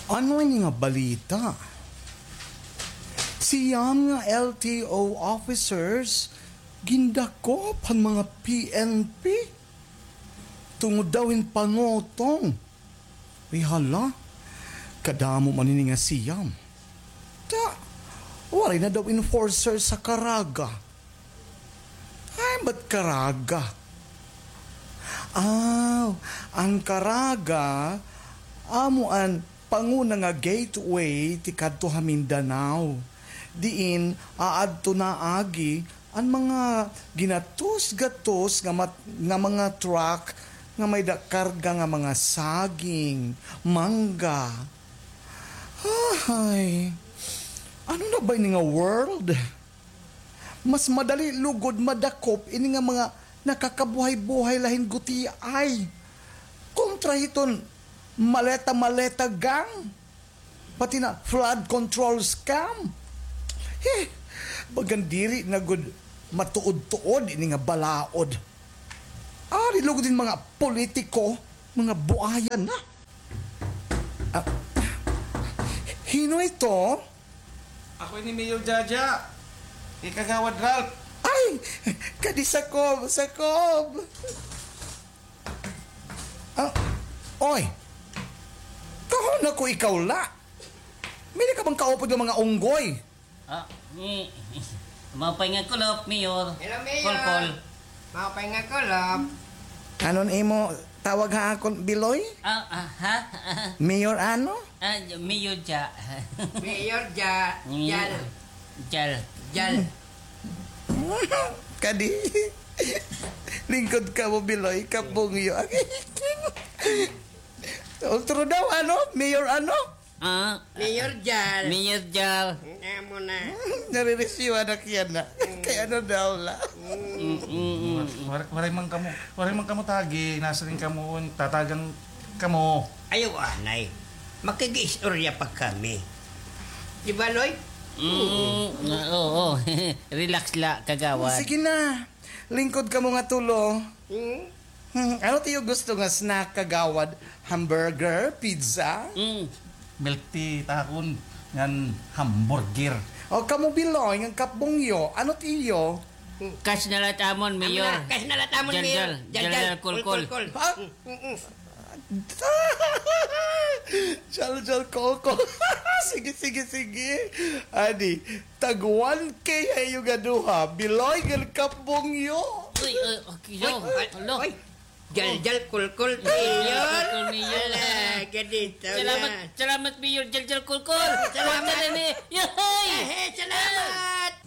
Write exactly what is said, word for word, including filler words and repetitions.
Ano ini nga balita? Siyam nga L T O officers gindakop han mga P N P tungod daw hin pangutong. Ay hala, kadamo man ini nga siyam. Ta, waray na daw enforcer sa Caraga. Ay, ba't Caraga? Aw, an Caraga, amo an panguna nga gateway tikadto ha Mindanao. Diin aadto na agi an mga ginatos-gatos nga mat-, nga mga truck nga may-ada karga nga mga saging, mangga. Ay, ano na ba ini nga world? Mas madali lugod madakop ini nga mga nakakabuhay-buhay la hin gutiay kontra hiton maleta-maleta gang, pati na flood control scam. He, bagan diri na gud matuod-tuod ini nga balaod. Ari lugod hin mga politiko, mga buayan na. Ah, hino ito? Ako ini, Mayor Jaja. Kay Kagawad Ralph. Ay, kadi sakob, sakob. Ah, oy. Kahon ako ikaw la. May ka bang kaupod nga mga unggoy? Ah, ni, maupay nga kulop, Mayor. Hello, Mayor. Kulkol. Maupay nga kulop. Anon imo tawag ha akon, Biloy? Ah, ah, ha? Mayor ano? Ah, Mayor Ja. Mayor Ja. Mayor Jal. Jal. Jal. Kadi. Lingkod kamo, Biloy, Kapbungyo. Ultro daw, ano? Mayor ano? Ah, Mayor Jal. Mayor Jal. Amo na. Naririsyuhan na kiyan na. Kay ano daw la? Mm, mm, mm. War-, waray man kamo, waray man kamo tagi, nasiring kamo, tatagan kamo. Ayaw anay. Makig-istorya pa kami. Di ba, Loy? Mm, oo, oo. Relax la, kagawad. Sige na. Lingkod kamo nga tulo. Hmm? Hmm, ano it iyo gusto nga snack, kagawad? Hamburger? Pizza? Mm. Milk tea, takon, ngan hamburger. O, kamo, Biloy, ngan Kapbungyo, ano it iyo? Cash na la it amon, Mayor. Cash na la it amon, Mayor. Jal, jal, jal, jal, kulkol. Ha? Mm, mm. Jal, jal, kulkol. Sige, sige, sige. Adi, tag one K ha iyo nga duha. Biloy ngan Kapbungyo. Uy, uy, okay, uy, uy, uy. Jal, jal, kulkol, Mayor. Kulkol, Mayor. Ala, ganito na. Salamat, salamat, Mayor. Jal, jal, kulkol. Salamat. Salamat, Mayor.